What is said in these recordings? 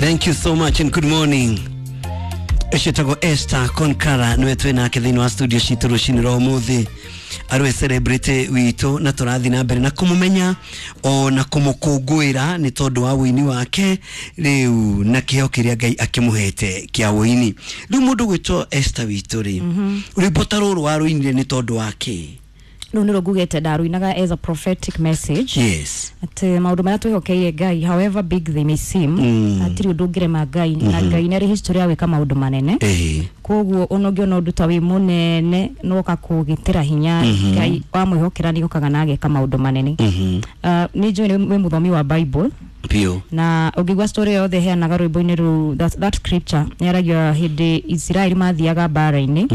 Thank you so much and good morning. Ũcio Esther Konkara nĩwe twĩ nake thĩinĩ wa studio citũ rũcinĩ rwa ũmũthĩ, arĩ celebrity witũ na tũrathiĩ na mbere na kũmũmenya o na kũmũkũngũĩra nĩ tondũ wa wũini wake rĩu na kĩheo kĩrĩa Ngai akĩmũhete kĩa wũini. Rĩu mũndũ gwĩtwo Esther witũ rĩ, rwĩmbo ta rũrũ warũinire nĩ tondũ wa kĩ? Rũu nĩrwo ngugĩte ndarũinaga as a prophetic message atĩ maũndũ marĩa twĩhokeire Ngai, however big they may seem, hatirĩ ũndũ ũngĩrema Ngai, na Ngai nĩ arĩ history ya gwĩka maũndũ manene. Koguo ona ũngĩona ũndũ ta wĩ mũnene no ũkakũgitĩra hinya, Ngai wamwĩhokera nĩ okaga na ageka maũndũ manene. Nĩ njũĩ nĩ wĩ mũthomi wa Bible. Biũ. Na ũngĩigua story yothe heanaga rwĩmbo-inĩ rũu, that scripture yaragia hĩndĩ Isiraeli mathiaga mbara-inĩ,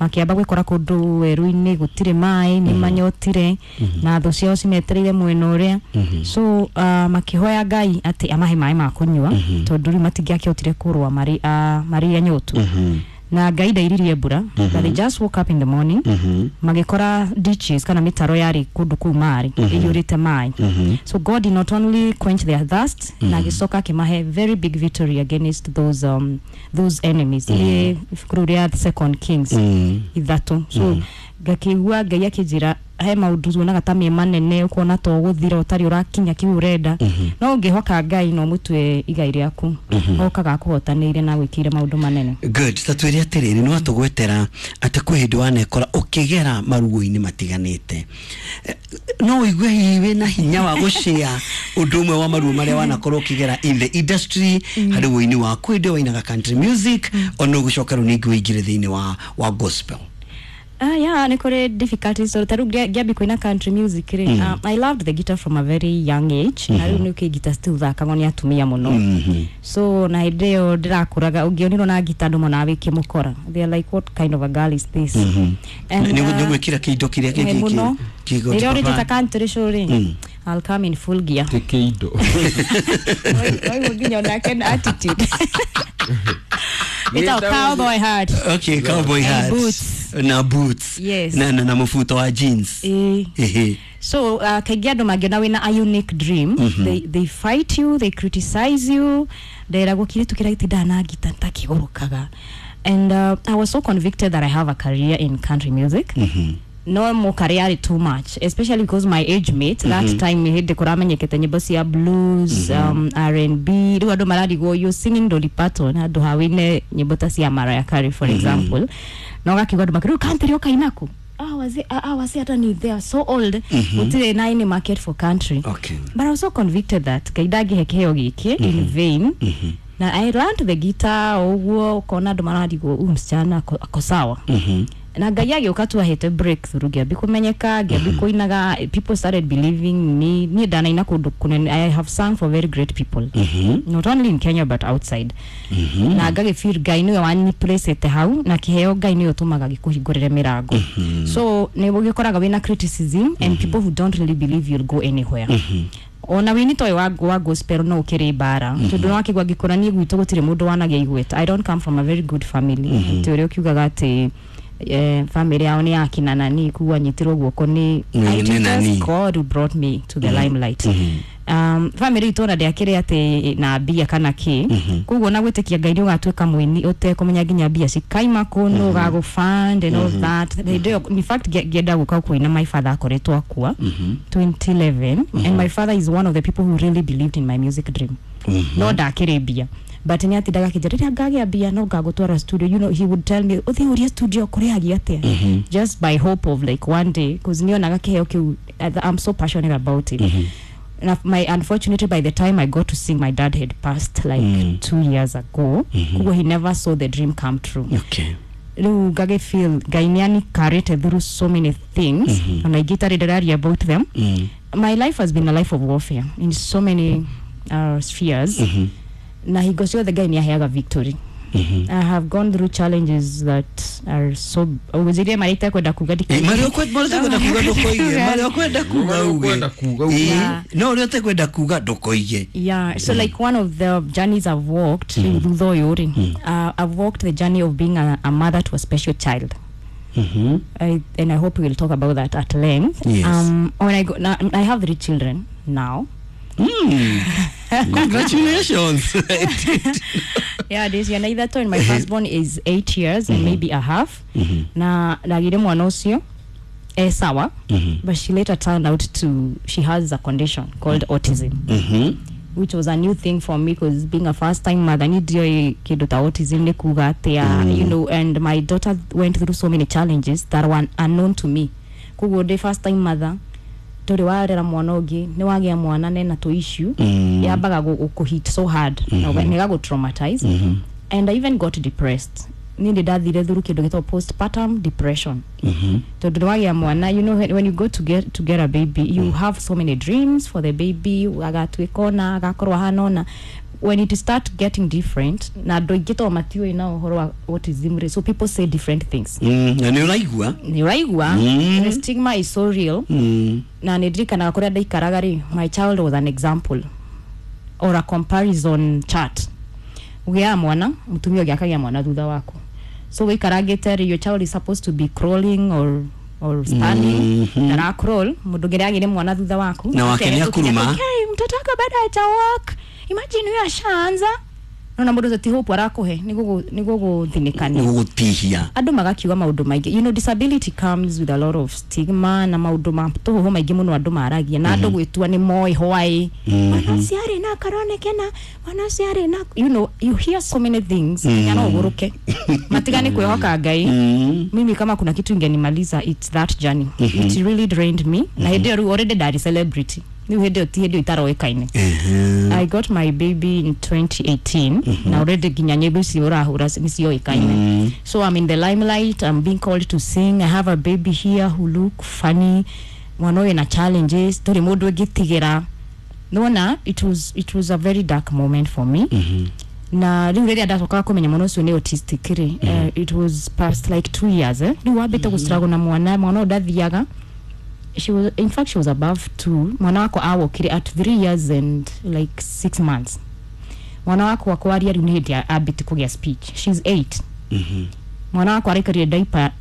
makĩamba gwĩkora kũndũ werũ-inĩ gũtirĩ maĩ, nĩ manyotire na thũ ciao cimetereire mwena ũrĩa. So makĩhoya Ngai atĩ amahe maĩ ma kũnyua, tondũ rĩu matingĩakĩhotire kũrũa marĩ marĩ anyotu. Na Ngai ndairirie mbura, but they just woke up in the morning, magĩkora ditches kana mĩtaro yarĩ kũndũ kũu marĩ ĩiyũrĩte maĩ. So God did not only quench their thirst, na agĩcoka akĩmahe very big victory against those enemies. Nĩ ibuku rĩu rĩa Second Kings 3. So ngakĩigua Ngai akĩnjĩra he maũndũ tuonaga ta me manene, ũkona to ũgũthira ũtarĩ ũrakinya kĩu ũrenda, no ũngĩhoka Ngai no mũtue igai rĩaku, okaga akũhotanĩire na gwĩkĩire maũndũ manene. Good. Ta twĩre atĩrĩrĩ, nĩ watũgwetera atĩ kwĩ hĩndĩ wanekora ũkĩgera maruo-inĩ matiganĩte. No ũigue hihi wĩna hinya wa gũshare ũndũ ũmwe wa maruo marĩa wanakorwo ũkĩgera in the industry harĩ wũini waku, hĩndĩ ĩyo wainaga country music, ona ũgĩcoka rĩu ningĩ ũingĩre thĩinĩ wa gospel? Ah, yeah, nĩ kũrĩ difficulties. So ta rĩu ngĩambia kũina country music rĩ, I loved the guitar from a very young age, na rĩu nĩ guitar still thakagwo nĩ atumia mũno. So na hĩndĩ ĩyo ndĩrakũraga, ũngĩonirwo na guitar andũ monaga wĩ kĩmũkora. They are like, "What kind of a girl is this?" And, Nĩ gwĩkĩra kĩindo kĩrĩa mũno. kĩgo. Rĩrĩa ũrĩte country show rĩ, I'll come in full gear. Ti kĩindo. Oiguo nginya onake na attitude. Ĩtagwo cowboy hat. Okay, cowboy And hat. boots. Na boots. Yes. Na mũbuto wa jeans. Ĩĩ. So kaingĩ andũ mangĩona wĩna a unique dream, they fight you, they criticize you. Nderagwo kĩirĩtu kĩrĩa gĩtindaga na ngita takĩgũrũkaga. And I was so convicted that I have a career in country music, no mũkarĩ yarĩ too much, especially because my age mate that time, hĩndĩ kũramenyekete nyĩmbo cia blues, R&B, rĩu andũ mararigwo, "You singing Dolly Parton handũ ha wĩine nyĩmbo ta cia Mariah Carey," for example. Na ũgakiuga andũ makĩrĩu country ũkainaku, ah, wazee, ah, wazee hata ni they are so old, gũtirĩ na any market for country. But I was so convicted that Ngai ndangĩhe kĩheo gĩkĩ in vain, na I learned the guitar o ũguo, ũkona andũ mararigwo, "Huyu msichana ako sawa?" Na Ngai agĩũka tu ahete breakthrough, ngĩambi kũmenyeka, ngĩambi kũinaga, people started believing me. Niĩ ndanaina kũndũ kũnene. I have sung for very great people, not only in Kenya but outside, na ngagĩfeel Ngai nĩwe waniplacete hau, na kĩheo Ngai nĩwe ũtũmaga gĩkũhingũrĩre mĩrango. So nĩ ũgĩkoraga wĩna criticism and people who don't really believe you'll go anywhere. Ona wini toyo wa gospel no ũkĩrĩ mbara, tondũ no akĩgwa ngĩkũra niĩ gwitũ gũtirĩ mũndũ wanagia igweta. I don't come from a very good family. Atĩ ũrĩa ũkiugaga atĩ family yao nĩ yakina nani kuga nyitirwo guoko nĩ It nĩ is nani. just God who brought me to the limelight. Family itũ ona ndĩakĩrĩ atĩ na mbia kana kĩ. Koguo na gwĩtĩkia Ngai nĩ ũgatuĩka mũini ũtekũmenya nginya mbia cikaima kũ, nũ ũgagũ-fund and all that. Hĩndĩ ĩyo, in fact, ngĩenda gũka kũina, my father akoretwo akua 2011, and my father is one of the people who really believed in my music dream. No ndakĩrĩ mbia, but nĩ atindaga akĩnjĩra rĩrĩa ngagĩa mbia no ngagũtwara studio. He would tell me, "Ũthiĩ ũrie studio kũrĩhagia atĩa," just by hope of like one day, cause nĩonaga kĩheo kĩu, I'm so passionate about it. Na my unfortunately, by the time I got to sing, my dad had passed like 2 years ago. Koguo he never saw the dream come true. Rĩu ngagĩ feel Ngai nĩ anicarĩte through so many things, ona ingĩ itarĩ ndĩraria about them. My life has been a life of warfare in so many spheres, na hingo ciothe Ngai nĩ aheaga victory. I have gone through challenges that are so ũgũnjĩrie marĩa itekwenda kuga. Marĩa ũtekwenda kuga ndũkoige, marĩa ũkwenda kuga Marĩa uge. ũkwenda kuga uge. No ũrĩa ũtekwenda kuga ndũkoige. Yeah, so like one of the journeys I've walked thutha ũyũ rĩ, I've walked the journey of being a mother to a special child. And I hope we will talk about that at length. Yes. When I go, now, I have three children now. Congratulations. Yeah, ndĩ ciana ithatũ, and my firstborn is 8 years and maybe a half. Na ndagire mwana ũcio e sawa, but she later turned out to, she has a condition called autism, which was a new thing for me, because being a first time mother, nĩ kĩndũ ta autism nĩ kuga atĩa, and my daughter went through so many challenges that were unknown to me. Koguo ndĩ first time mother, ndũrĩ warera mwana ũngĩ, nĩ wagĩa mwana nena tũ issue, yambaga gũkũ so hard na nĩgagũ traumatize, and I even got depressed. Niĩ ndĩ ndathire through kĩndũ gĩtagwo postpartum depression, tondũ nĩ wagĩa mwana, when you go to get a baby, you have so many dreams for the baby, agatuĩka ona agakorwo ahana ona. When it start getting different, na andũ aingĩ to matiũĩ na ũhoro wa autism rĩ, so people say different things. Na nĩ ũraigua. Nĩ ũraigua. The stigma is so real. Na nĩ ndirikanaga kũrĩa ndaikaraga rĩ, my child was an example or a comparison chart. Ũgĩaga mwana, mũtumia ũngĩ akagĩa mwana thutha waku, so wĩikarangĩte rĩ, your child is supposed to be crawling or standing, ndara crawl. Mũndũ ũngĩ nĩagĩire mwana thutha waku. Na wake nĩ akuruma. Okay, mtoto wako bado haja walk, imagine huyo ashaanza. Nona mũndũ ũcio ti hope arakuhe, nĩ gũgũthinĩkania, nĩ gũgũtihia. Andũ magakiuga maũndũ maingĩ. Disability comes with a lot of stigma na maũndũ ma tũhũhũ maingĩ mũno andũ maragia, na andũ gwĩtua nĩ moĩ why mwana ũcio arĩ na karonekena, mwana ũcio arĩ na, you hear so many things nginya no ũgũrũke matigane kwĩhoka Ngai. Mimi kama kuna kitu ingenimaliza, it's that journey. It really drained me. Na hĩndĩ ĩyo rĩu already ndarĩ celebrity, rĩu hĩndĩ ĩyo ti hĩndĩ ĩyo itaroĩkaine. I got my baby in 2018, na already nginya nyĩmbo icio ũrahũra nĩcioĩkaine. So I'm in the limelight, I'm being called to sing, I have a baby here who look funny, mwana ũyũ na challenges tũrĩ mũndũ ũngĩtigĩra nona. It was a very dark moment for me. Na rĩu rĩrĩa ndacokaga kũmenya mwana ũcio nĩ autistic rĩ, it was past like 2 years, eh? Rĩu wambĩte gũstruggle na mwana, mwana ũyũ ndathiaga. She was, in fact, she was above 2. Mwana wakwa awokire at 3 years and like 6 months. Mwana wakwa kwaria rĩu nĩ hĩndĩ ambĩte kũgĩa speech. She's 8. Mwana wakwa araikarire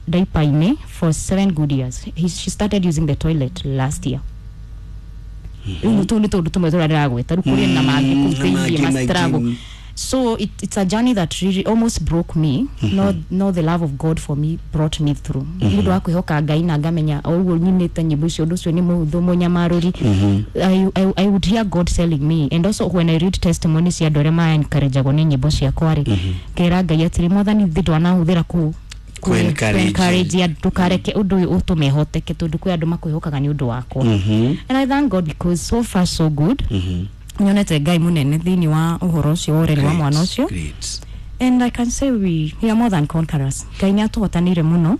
diaper-inĩ for 7 good years. She started using the toilet last year. Rĩu tũu nĩ tũndũ tũmwe tũrĩa ndĩragwĩta, rĩu kũrĩ na mangĩ kũu na thĩiniĩ mangĩ ma struggle. maingĩ. So it's a journey that really almost broke me. No, the love of God for me brought me through. Nĩ ũndũ wa kwĩhoka Ngai na ngamenya o ũguo nyinĩte nyĩmbo icio, ũndũ ũcio nĩ mũhũthũ mũnyamarũri. I would hear God telling me, and also when I read testimonies cia andũ arĩa ma-encourage-agwo nĩ nyĩmbo ciakwa rĩ, ngera Ngai atĩrĩ, Mwathani, thĩ ndwanahũthĩra kũ Kũ-encourage. encourage andũ, ndũkareke ũndũ ũyũ ũtũme hoteke, tondũ kwĩ andũ makwĩhokaga nĩ ũndũ wakwa. And I thank God because so far so good. Nyonete Ngai mũnene thĩinĩ wa ũhoro ũcio wa ũreri wa mwana ũcio. Great. And I can say we are more than conquerors. Ngai nĩ atũhotanĩire mũno.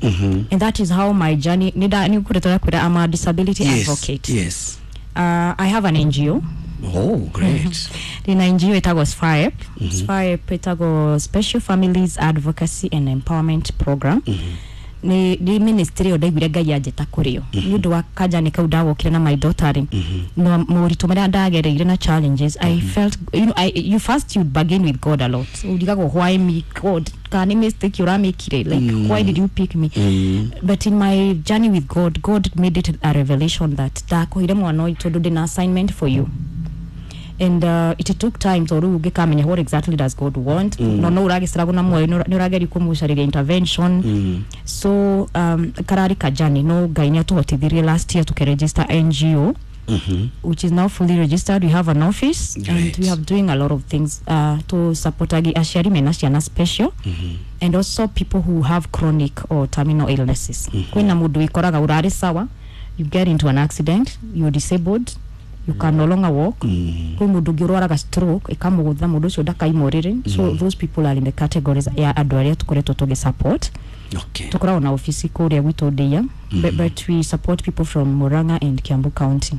And that is how my journey, nĩ ngoretwo ndakwĩra I'm a disability advocate. I have an NGO. Oh, great. Ndĩna NGO ĩtagwo SFAEP. SFAEP ĩtagwo Special Families Advocacy and Empowerment Program. Nĩ ministry ĩyo ndaiguire Ngai anjĩta kũrĩ yo nĩ ũndũ wa kanjani kau ndawokire na my daughter rĩ, na moritũ marĩa ndagereire na challenges. I felt, you first, you bargain with God a lot. Urigagwo, "Why me, God? Kana nĩ mistake ũramĩkire? Like, why did you pick me?" But in my journey with God, God made it a revelation that ndakũheire mwana ũyũ tondũ ndĩna assignment for you. And it took time tondũ rĩu ũngĩkamenya what exactly does God want. No ũragĩstruggle na muoyo, nĩ ũrageria kũmũcarĩria intervention. So kararĩ kajani, no Ngai nĩ atũhotithirie last year tũkĩregister NGO, which is now fully registered. We have an office and we are doing a lot of things to support aciari mena ciana special and also people who have chronic or terminal illnesses. Kwĩna mũndũ wĩkoraga ũrarĩ sawa, you get into an accident, you're disabled, you can no longer walk. Kwĩ mũndũ ũngĩ ũrwaraga stroke ĩkamũgũtha, mũndũ ũcio ndakaima ũrĩrĩ. So those people are in the categories ya andũ arĩa tũkoretwo tũgĩ support. Tũkoragwo na ofici kũrĩa gwitũ Ndĩa, but we support people from Murang'a and Kiambu County.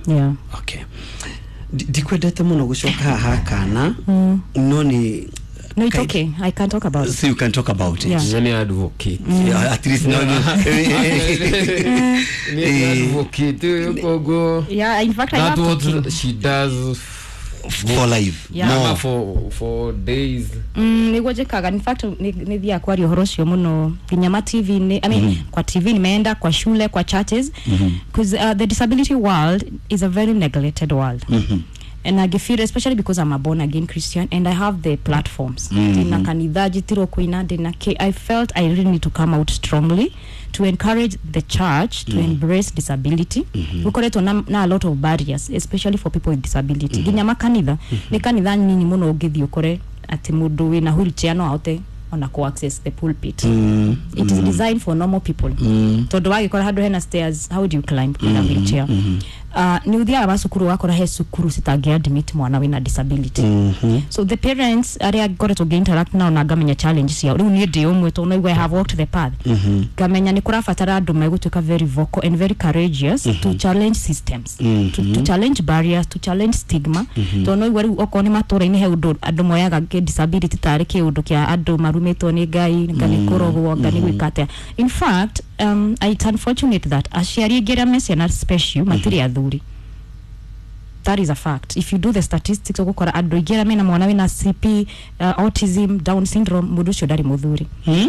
Yeah. Okay. Ndikwendete mũno gũcoka haha kana no nĩ No, it's okay, I can talk about it. So you can talk about it. Yeah. Nĩ advocate. Yeah, at least no. Nĩ advocate koguo. Yeah, in fact I That love what talking. She does for life. Yeah. Ama More. for days. Nĩguo njĩkaga. In fact nĩ thiaga kwaria ũhoro ũcio mũno nginya ma TV-inĩ, I mean, kwa TV nimeenda, kwa shule, kwa churches, because the disability world is a very neglected world. And I feel, especially because I'm a born again Christian and I have the platforms, ndina kanitha njitirwo kuina, ndina I felt I really need to come out strongly to encourage the church to embrace disability. Gukoretwo na a lot of barriers, especially for people with disability. Nginya makanitha, nĩ kanitha nini mũno ũngĩthiĩ ũkore atĩ mũndũ wĩna wheelchair no ahote ona ku access the pulpit. It is designed for normal people, tondu wagikora handu hena stairs, how do you climb with a wheelchair? Ni uthiaga macukuru ũgakora he cukuru citangĩ admit mwana wĩna disability. So the parents arĩa ngoretwo ngĩ interact nao na ngamenya challenge ciao, rĩu niĩ ndĩ ũmwe tondũ naigua I have walked the path, ngamenya nĩ kũrabatara andũ megũtuĩka very vocal and very courageous to challenge systems, to challenge barriers, to challenge stigma, tondũ naigua rĩu okorwo nĩ matũra-inĩ he ũndũ andũ moyaga disability tarĩ kĩũndũ kĩa andũ marumĩtwo nĩ Ngai, nga nĩ kũrogwo, nga nĩ gwĩka atĩa. In fact, it's unfortunate that aciari aingĩ arĩa me ciana special matirĩ athuri. That is a fact. If you do the statistics, ũgũkora andũ aingĩ arĩa mena mwana wĩna CP, autism, Down syndrome, mũndũ ũcio ndarĩ mũthuri.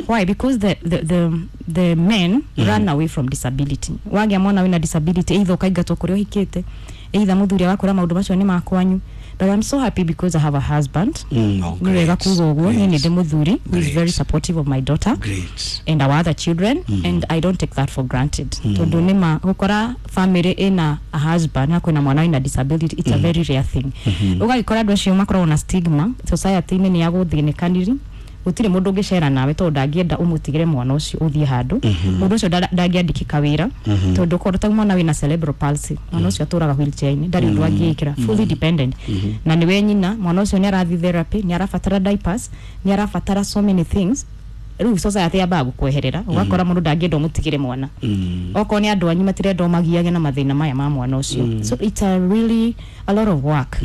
Why? Because the men run away from disability. Wagĩa mwana wĩna disability, either ũkaingatwo kũrĩa ũhikĩte, either mũthuri agakũra maũndũ macio nĩ makwanyu. But I'm so happy because I have a husband. Oh, Nĩ wega great. kuga ũguo, niĩ nĩ ndĩ mũthuri who is Great. very supportive of my daughter Great. and our other children, and I don't take that for granted, tondu nĩma gũkora family ĩna a husband na kwĩna mwana wĩna disability, it's a very rare thing. Ũgagĩkora andũ acio makoragwo na stigma society-inĩ, nĩ ya gũthĩnĩkaniri, gũtirĩ mũndũ ũngĩcera nawe tondũ ndangĩenda ũmũtigĩre mwana ũcio ũthiĩ handũ. Mũndũ ũcio ndangĩandĩkĩka wĩra, tondũ okorwo ta mwana wĩna cerebral palsy, mwana ũcio atũraga wheelchair-inĩ, ndarĩ ũndũ angĩĩkĩra, fully dependent, na nĩwe nyina. Mwana ũcio nĩ arathiĩ therapy, nĩ arabatara diapers, nĩ arabatara so many things. Rĩu society yambaga gũkweherera, ũgakora mũndũ ndangĩenda ũmũtigĩre mwana. Okorwo nĩ andũ anyu matirenda ũmagiage na mathĩna maya ma mwana ũcio. So it's a really a lot of work.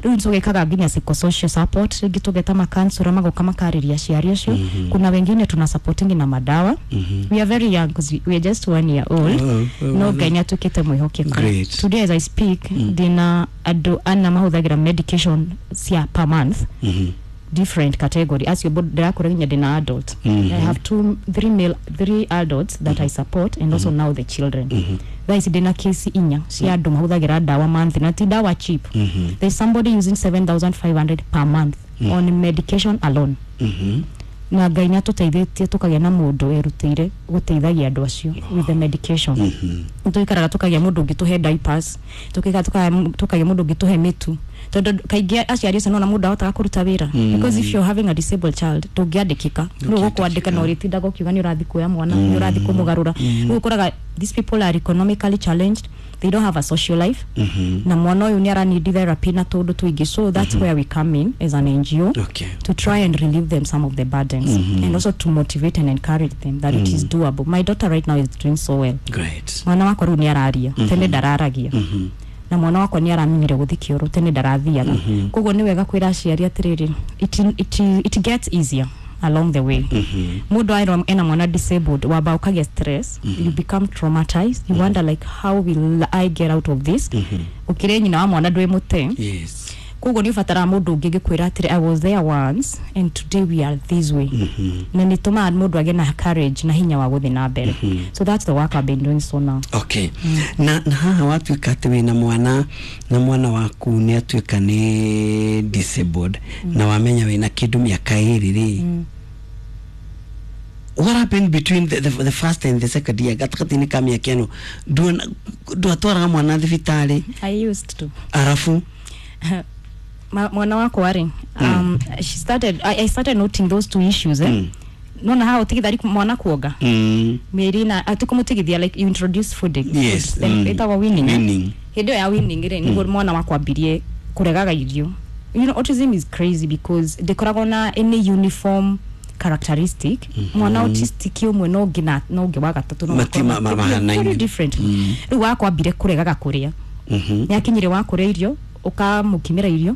Rĩu tũgĩkaga nginya psychosocial support, rĩngĩ tũgeta makansura magoka makarĩria aciari acio. Kuna wengine tuna supporting na madawa. We are very young 'cause we are just 1 year old. Oh, No Ngai nĩ atuĩkĩte mwĩhokeku. Great. Today as I speak, ndĩna andũ ana mahũthagĩra medication cia per month, different category acio ndirakora nginya ndĩna adult. I have two, three male, three adults that I support, and also now the children. Thaa ici ndĩna kesi inya cia andũ mahũthagĩra ndawa monthly, na ti ndawa cheap. There's somebody using 7500 per month on medication alone. Na Ngai nĩ atũteithĩtie tũkagĩa na mũndũ erutĩire gũteithagia andũ acio with the medication. Nĩtũikaraga tũkagĩa mũndũ ũngĩ tũhe diapers, tũkagĩa mũndũ ũngĩ tũhe mĩtu, tondũ kaingĩ aciari acio nona mũndũ ahotaga kũruta wĩra, because if you're having a disabled child, ndũngĩandĩkĩka. Rĩu ũgũkwandĩka na ũrĩtindaga ũkiuga nĩ ũrathiĩ kuoya mwana, nĩ ũrathiĩ kũmũgarũra. Rĩu ũkoraga these people are economically challenged, they don't have a social life, na mwana ũyũ nĩ aranid therapy na tũndũ tũingĩ. So that's where we come in as an NGO, to try and relieve them some of the burdens and also to motivate and encourage them that it is doable. My daughter right now is doing so well. Great. Mwana wakwa rĩu nĩ araria, tene ndararagia, na mwana wakwa nĩ aramenyire gũthiĩ kĩoro, tene ndarathiaga. Koguo nĩ wega kwĩra aciari atĩrĩrĩ, it gets easier along the way. Mũndũ aerwo ena mwana disabled, wamba ũkagĩa stress, you become traumatized, you wonder like, how will I get out of this? Ũkĩrĩ nyina wa mwana, ndwĩ mũte. Koguo nĩ ũbataraga mũndũ ũngĩ ngĩkwĩra atĩrĩ, I was there once and today we are this way, na nĩ tũmaga mũndũ agĩe na courage na hinya wa gũthiĩ na mbere. So that's the work I've been doing so now. Okay, na haha watuĩka atĩ wĩna mwana na mwana waku nĩ atuĩka nĩ disabled, na wamenya wĩna kĩndũ mĩaka ĩrĩ rĩ, what happened between the first and the second year, gatagatĩ-inĩ ka mĩaka ĩno ndwatwaraga mwana thibitarĩ? I used to. Arabu? Mwana wakwa rĩ, she started I started noting those two issues, eh? Nona haha ũtigithari mwana kuonga mĩeri na atikũmũtigithia, like you introduce food, then ĩtagwo weaning, eh? Weaning. Hĩndĩ ĩyo ya weaning rĩ, nĩguo mwana wakwa ambirie kũregaga irio. You know, autism is crazy because ndĩkoragwo na any uniform characteristic. Mwana autistic ũmwe no ũngĩ na ũngĩ wa gatatũ no Mati- makorwo mahanaine. very different. Rĩu wakwa ambire kũregaga kũrĩa. Nĩ akinyire wa kũrĩa irio, ũkamũkimĩra irio,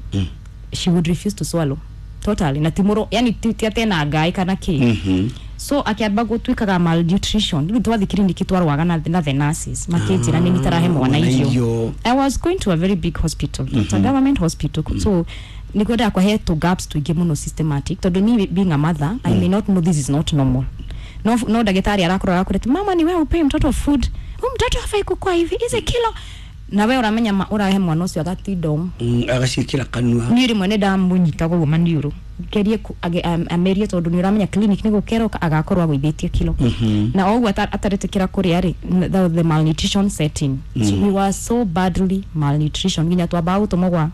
she would refuse to swallow totally, na ti mũro, yani ti atĩ ena ngai kana kĩ. So akĩamba gũtuĩkaga malnutrition. Rĩu twathiĩ kiriniki twarwaga na the nurses makĩnjĩra nĩ nitarahe mwana Mwana irio. irio. I was going to a very big hospital. It's a government hospital. So nĩguo ndakwa tũ gaps tũingĩ mũno systematic, tondũ me being a mother, I may not know this is not normal. No ndagĩtarĩ arakũrora akwĩra atĩ, mama, ni wewe upei mtoto food, huyu mtoto hafai kukua hivi, hizi kilo. Na we ũramenya ũrahe mwana ũcio agatinda ũũ. Agaciĩkĩra kanua. Niĩ rĩmwe nĩ ndamũnyitaga ũguo maniũrũ ngerie amerie tondũ nĩ ũramenya clinic nĩ gũkeroka agakorwo agũithĩtie kilo. Na o ũguo ataretĩkĩra kũrĩa rĩ, the malnutrition setting. So we were so badly malnutrition nginya twambaga gũtũmwo gwa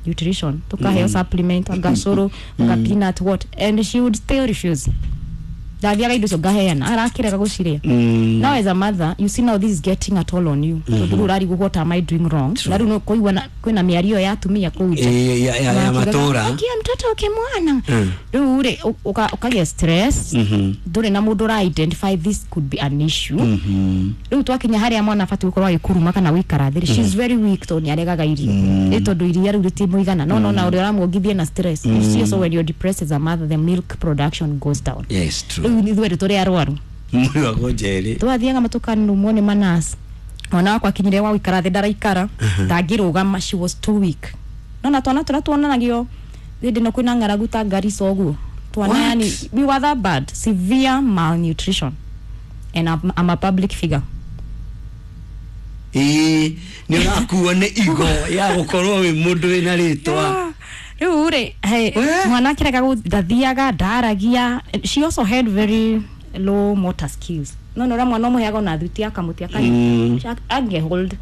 nutrition tukaheo supplement, agacũrũ, aga peanut what, and she would still refuse. Ndathiaga indo icio ngaheana arakĩrega gũcirĩa. Now as a mother, you see, now this is getting a toll on you, tondũ rĩu ũrarigwo, what am I doing wrong? Na rĩu nĩ kũigua kwĩna mĩario ya atumia kũu nja. Eh, ya matũra. Akia mtoto ukimwana rĩu rĩ ũkagĩa stress. Ndũrĩ na mũndũ ũra identify this could be an issue. Rĩu twakinya harĩa mwana abatiĩ gũkorwo agĩkuruma kana gũikara thĩ, she's very weak tondũ nĩ aregaga irio. Ĩ tondũ iria rĩu rĩtimũigana, no nona ũrĩa ũramuongithie na stress. You see, so when you're depressed as a mother, the milk production goes down. Yes, true. Rĩu ithuĩ tũrĩ arwaru. Mwĩragwo njerĩ. Twathiaga matukanumwo nĩ manas. Mwana wakwa akinyire wa gũikara thĩ ndaraikara, ndangĩrũgama, she was too weak. Nona twana tũrĩa tuonanagio hĩndĩ ĩno kwĩna ng'aragu ta Garissa ũguo twana. What? Yani we were that bad, severe malnutrition, and I'm a public figure. Ĩĩ, nĩ ũrakuo nĩ igo ya gũkorwo wĩ mũndũ wĩna rĩtwa. Rĩu rĩ, hey, We? mwana akĩrega ndathiaga, ndaragia. She also had very low motor skills. No ũrĩa mwana ũmũheaga ona thuti akamũtia ange hold.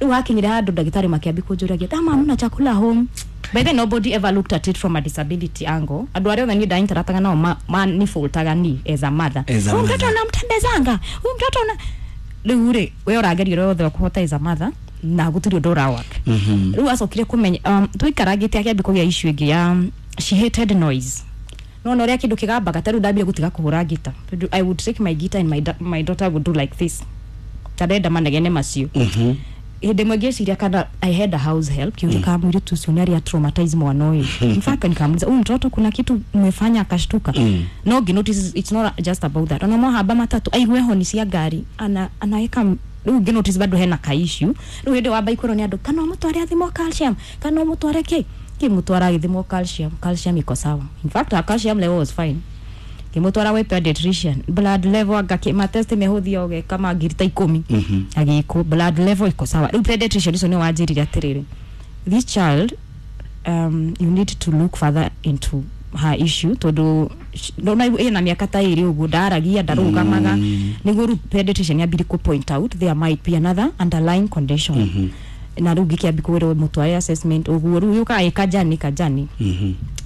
Rĩu hakinyire handũ ndagĩtarĩ makĩambi kũnjũragia ta mama chakula home. By then nobody ever looked at it from a disability angle. Andũ arĩa othe niĩ ndainteractaga nao manifoltaga ni as a mother. As a "Huyu mtoto mother. unamtembezanga, huyu mtoto una." Rĩu rĩ, we ũrageria ũrĩa wothe ũkũhota as a mother na gũtirĩ ũndũ ũrawork. Rĩu acokire kũmenya tũikarangĩte akĩambia kũgĩa issue ĩngĩ ya she hated noise. No ũrĩa kĩndũ kĩgambaga ta rĩu ndambire gũtiga kũhũra ngita, tondũ I would take my guitar and my daughter would do like this, ta ndenda manegene macio. Hĩndĩ ĩmwe ngĩciria kana I had a house help, kiuria kama mũirĩtu ũcio nĩ arĩa traumatize mwana ũyũ. In fact nikamuuliza, "Huyu mtoto kuna kitu mmefanya akashtuka?" No ngĩ notice it's not just about that. Ona mwahamba matatu aigue honi cia ngari ana anaweka rĩu ngĩ notice bado hena ka issue. Rĩu hĩndĩ wamba ikwĩrwo nĩ andũ kana ũmũtware athimwo calcium, kana ũmũtware kĩ, ngĩmũtwara agĩthimwo calcium, calcium iko sawa. In fact her calcium level was fine. Ngĩmũtwara gwĩ pediatrician, blood level anga matest mehũthia ũgeka ma 10,000 agĩkwo, blood level iko sawa. Rĩu pediatrician ũcio nĩ wanjĩrire atĩrĩrĩ, "This child, you need to look further into her issue," tondũ ndona ĩna mĩaka ta ĩrĩ ũguo ndaragia, ndarũgamaga. Nĩguo rĩu pediatrician yambire kũ point out there might be another underlying condition. Na rĩu ngĩkĩambi kwĩrwo mũtware assessment ũguo rĩu yũkaga ĩkanjani kanjani.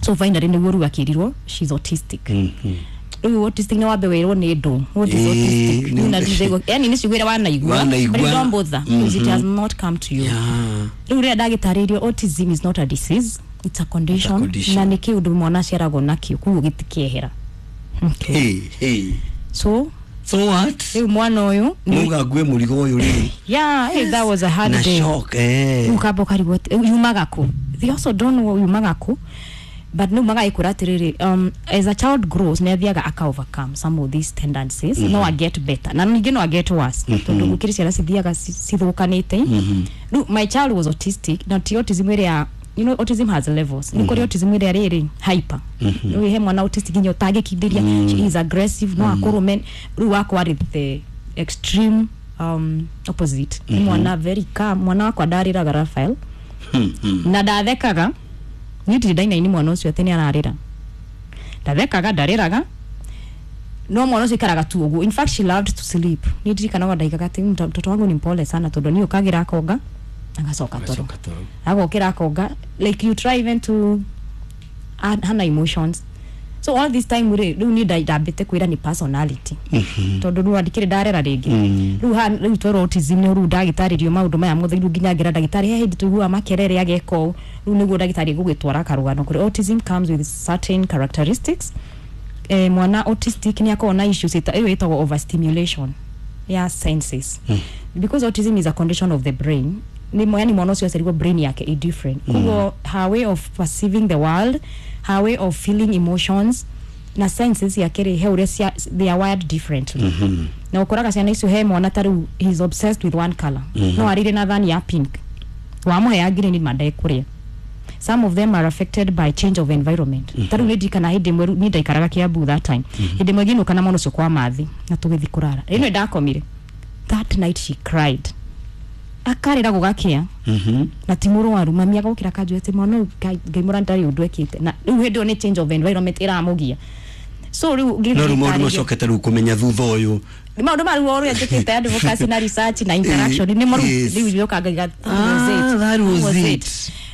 So finally nĩguo rĩu akĩrirwo she's autistic. Rĩu autistic nĩ wambe wĩrwo nĩ ndũ, what is autistic? Rĩu na rĩu yani nĩ ciugo iria wanaigua, Wanaigua. but you don't bother because it has not come to you. Rĩu rĩrĩa ndagĩtarĩirio autism is not a disease, it's a condition, It's a condition. Na nĩ kĩũndũ mwana aciaragwo nakĩo, koguo gĩtikĩehera, okay. Hey, hey. So So what? Rĩu mwana ũyũ Muga ngue mũrigo ũyũ rĩu. Yeah, hey, that was a hard Na day. shock, eh. Ukamba ũkarigwo yumaga kũ. They also don't know yumaga kũ, but no magagĩkwĩra atĩrĩrĩ, as a child grows nĩ athiaga aka overcome some of these tendencies. No a get better na ningĩ no a get worse, tondũ gũkĩrĩ ciana cithiaga cithũkanĩte. Rĩu my child was autistic, na ti autism ĩrĩa, you know, autism has levels. Nĩ kũrĩ autism ĩrĩa rĩrĩ hyper. Rĩu he mwana autistic nginya ũtangĩkindĩria, she is aggressive, no akũrũme. Rĩu wakwa arĩ the extreme opposite. Nĩ mwana very calm. Mwana wakwa ndarĩraga, Rafael, na ndathekaga. Niĩ ndirĩ ndainaini mwana ũcio atĩ nĩ ararĩra. Ndathekaga, ndarĩraga, no mwana ũcio ikaraga tu ũguo. In fact she loved to sleep. Niĩ ndirikanaga ndaigaga atĩ mtoto wangu ni mpole sana," tondũ niĩ ũkagĩra akonga agacoka toro, agokĩra akonga. Like you try even to add hana emotions. So all this time rĩ, rĩu niĩ ndambĩte kwĩra nĩ personality, tondũ rĩu andikĩrĩ ndarera rĩngĩ. Rĩu rĩu twerwo autism nĩ rĩu ndagĩtarĩrio maũndũ maya mothe. Rĩu nginya ngĩra ndagĩtarĩ, he hĩndĩ tũiguaga makerere ageka ũũ. Rĩu nĩguo ndagĩtarĩ gũgĩtwara karũgano kũrĩ autism comes with certain characteristics. Mwana autistic nĩ akoragwo na issues ĩyo ĩtagwo overstimulation ya senses, because autism is a condition of the brain. Nĩ yani mwana ũcio aciarirwo brain yake i different, koguo her way of perceiving the world, her way of feeling emotions na senses yake rĩ, he ũrĩa they are wired differently. Na ũkoraga ciana icio, he mwana ta rĩu he is obsessed with one color, no arĩre na thani ya pink, wamũhe ya green mandekũrĩa. Some of them are affected by change of environment. Ta rĩu nĩ ndirikana hĩndĩ ĩmwe, niĩ ndaikaraga Kiambu that time, hĩndĩ ĩmwe ngĩinũka na mwana ũcio kwa mathi na tũgĩthiĩ kũrara, ĩno ndakomire. That night she cried. Akarĩra gũgakĩa na ti mũrwaru, mami agokĩra akanjũria atĩ mwana ũyũ Ngai mũra ndarĩ ũndũ ekĩte, na rĩu hĩndĩ ĩyo nĩ change of environment ĩramũgia, so rĩu ngĩthiĩ No rĩu maũndũ ngĩtarĩria. Macokete rĩu kũmenya thutha ũyũ. Maũndũ ma rĩu ũrĩa njĩkĩte advocacy na research na interaction nĩ mo rĩu rĩu rĩoka ngaiga, Ah, that was it.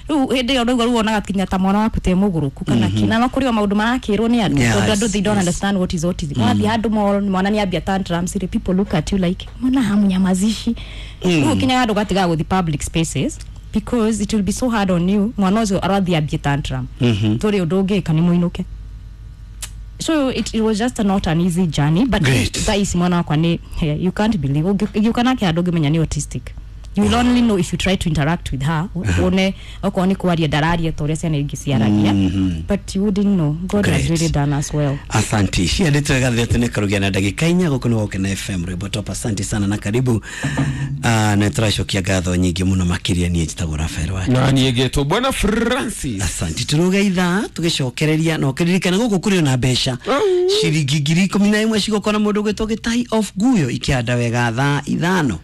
Rĩu hĩndĩ ĩyo rĩu wonaga kinya ta mwana waku te mũgũrũku kana kĩ, na no kũrĩ o maũndũ marakĩrwo nĩ andũ, tondũ andũ they don't understand what is autism. Wathiĩ handũ mwana nĩ ambia tantrums rĩ, people look at you like, mbona hamunyamazishi? Rĩu ũkinyaga handũ ũgatigaga gũthiĩ public spaces because it will be so hard on you, mwana ũcio arathiĩ ambie tantrum, tũrĩ ũndũ ũngĩka nĩ mũinũke. So it was just not an easy journey, but Great. thaa ici mwana wakwa nĩ, you can't believe, ũngĩũka nake handũ ũngĩmenya nĩ autistic. You will only know if you try to interact with her, wone okorwo nĩ kwaria ndararia ta ũrĩa ciana ingĩ ciaragia, but you wouldn't know. God has Great. really done us well. Asanti, ciandä twega thete nä karugia na ndagä 4 gå kå nä gokena FM rwä top. Asanti sana na karibu. Na tå racokia ngatho nyingä må no makä ria. Niä njätagwo Rafael wa Na niĩ ngetwo Bwana Francis. Asanti, tå rå ithaa tå gä cokereria na å kä ririkana gå kå kå rä ona mbeca ciringi 11,000 cigåkora må ndå gwä two gä tai of guyo ikä handa wega thaa 5:30.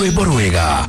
Rwĩmbo rwega.